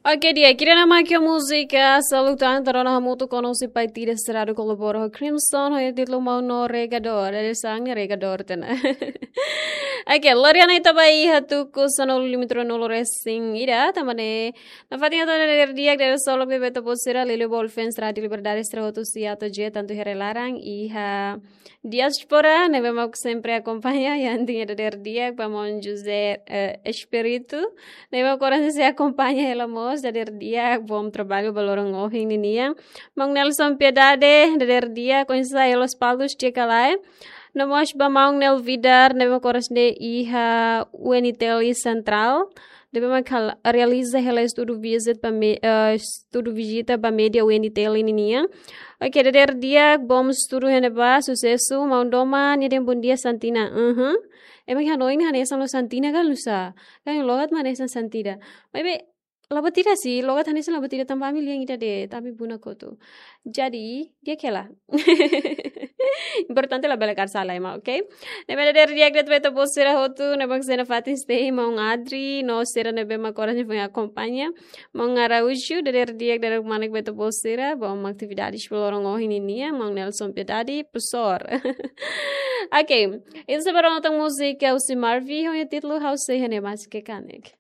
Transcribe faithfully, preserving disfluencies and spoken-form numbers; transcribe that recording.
Oke, di'ak, ida-ne'e mak múzika Saluk Tan, entaun hamutuk ho Nosi Pai Tida Seradu, kolabora ho Crimson, ho títulu Maun no Regador, ida-ne'e sang ne'e Regador tiha ona. Oke, lori ona ita ba iha tuku sanulu-lima-nulu resin ida, tanba ne'e nafatin hato'o ona dadeer di'ak, dadeer solok ba ita-boot sira, liuliu ba fans Rádio Liberdade sira hotu, sira tantu iha rai-laran, iha diáspora, ne'ebé mak sempre akompaña, iha antinya dadeer di'ak ba maun José, eh, Espírito, ne'ebé mak oras ne'e sei akompaña hela mós, dadeer di'ak, bom trabalho ba loron ohin ninian. Maun Nelson Piedade, dadeer di'ak, oinsá iha Lospalos, di'ak ka lae? No mós ba maun Nel Vidar, ne'ebé mak oras ne'e iha U N T L Central, ne'ebé mak hal-, realiza hela estudu visit ba me-, eh, estudu vizita ba média U N T L ninian. Oke, dadeer di'ak, bom estudu iha ne'ebá, susesu, maun Doma, nia dehan bom dia Santina. Uhum. Ema iha hanoin hanesan loos Santina ka nusá? Kan logat mak hanesan Santida. Maibé, la buat ida sih, logat hanesan la buat ida, tanba ami lian ida de'it, ami buna kotu. Jadi, di'ak hela. Importante labele kaer sala ema, oke? Ne'ebé dadeer di'ak de'it ba ita-boot sira hotu, ne'ebé mak sei nafatin stay, maun Adri, no sira ne'ebé mak oras ne'e foin akompaña. Maun Araújo, dadeer di'ak, dadeer kmanek ba ita-boot sira, bom atividades ba loron ohin ninian, maun Nelson Piedade, profesór. Oke, ita sei ba rona tan múzika husi Marvy, ho nia títulu Ha'u Sei Iha Ne'e Mais Ke Kanek.